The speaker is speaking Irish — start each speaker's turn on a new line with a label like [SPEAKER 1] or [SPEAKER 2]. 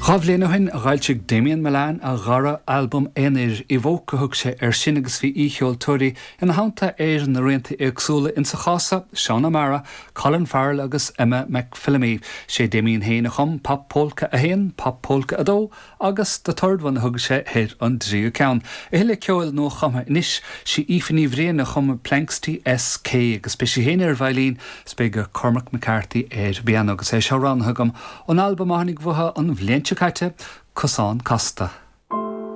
[SPEAKER 1] Dha bhliain ó shin d'fhoilsigh Damien Mullane a dhara albam aonair, Evoke a thug sé air sin agus bhí aoicheoltóirí ina theannta ar na rianta éagsúla, insa chás seo, Seán O'Mara, Colin Farrell agus Emma McPhillamy. Sé Damien féin a chum Pop Polka 1, Pop Polka 2 agus The Third One a thug sé ar an dtríú ceann. A thuilleadh ceoil nua-chumtha anois, sí Aoife Ní Bhriain a chum Planxty SK agus beidh sí féin ar veidhlín is beidh Cormac McCarthy ar an bpianó agus é seo roghnaithe agam ón albam a tháinig uathu an bhliain seo caite, Cosán Casta.